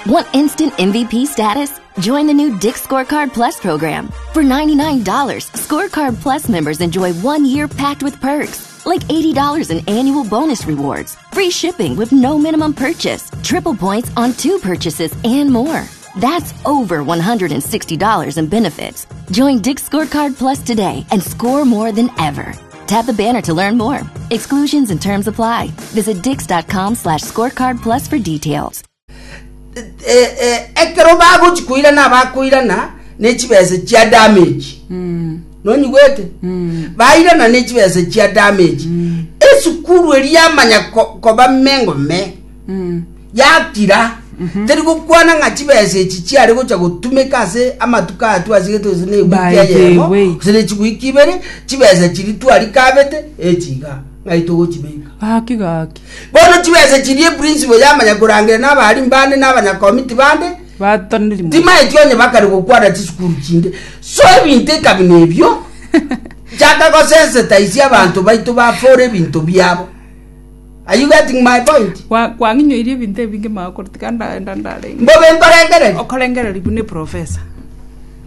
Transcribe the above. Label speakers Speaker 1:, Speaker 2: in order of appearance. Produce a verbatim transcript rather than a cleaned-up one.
Speaker 1: Want instant M V P status? Join the new Dick's Scorecard Plus program. For ninety-nine dollars, Scorecard Plus members enjoy one year packed with perks, like eighty dollars in annual bonus rewards, free shipping with no minimum purchase, triple points on two purchases, and more. That's over one hundred sixty dollars in benefits. Join Dick's Scorecard Plus today and score more than ever. Tap the banner to learn more. Exclusions and terms apply. Visit dicks dot com slash scorecard plus for details.
Speaker 2: Eh, eh, ekero bagochi koirana, bakoirana ne chibesa chia damage. Nonyigwete? Bairana ne chibesa chia damage. Esukuru eri yamanya ko- koba mengome, yakira teri gokwana ng'a chibesa echi chiare gocha gotumeka ase amatuko aya twasigete, gose na ewiki
Speaker 3: By the
Speaker 2: eyemo,
Speaker 3: way.
Speaker 2: gose ne chiwiki ibere. Chibesa chiri twarikabete echiga ng'ai togochibeka?
Speaker 3: Gaki gaki.
Speaker 2: Bono chibesa chirie, principal yamanya korangera na abarimu bande na abanyakomiti bande.
Speaker 3: Batoneri.
Speaker 2: Timaeti onye bakare gokwana chisukuru chinde. So ebinto ekabina ebio chaka gosensitize abanto baito bafore ebinto biabo. Are you getting my point?
Speaker 3: Kwang'inyoirie ebinto ebinge magokoro, tiga ndaenda ndarenge.
Speaker 2: Mbobe nkorengereri.
Speaker 3: Okorengereri buna eprofesa.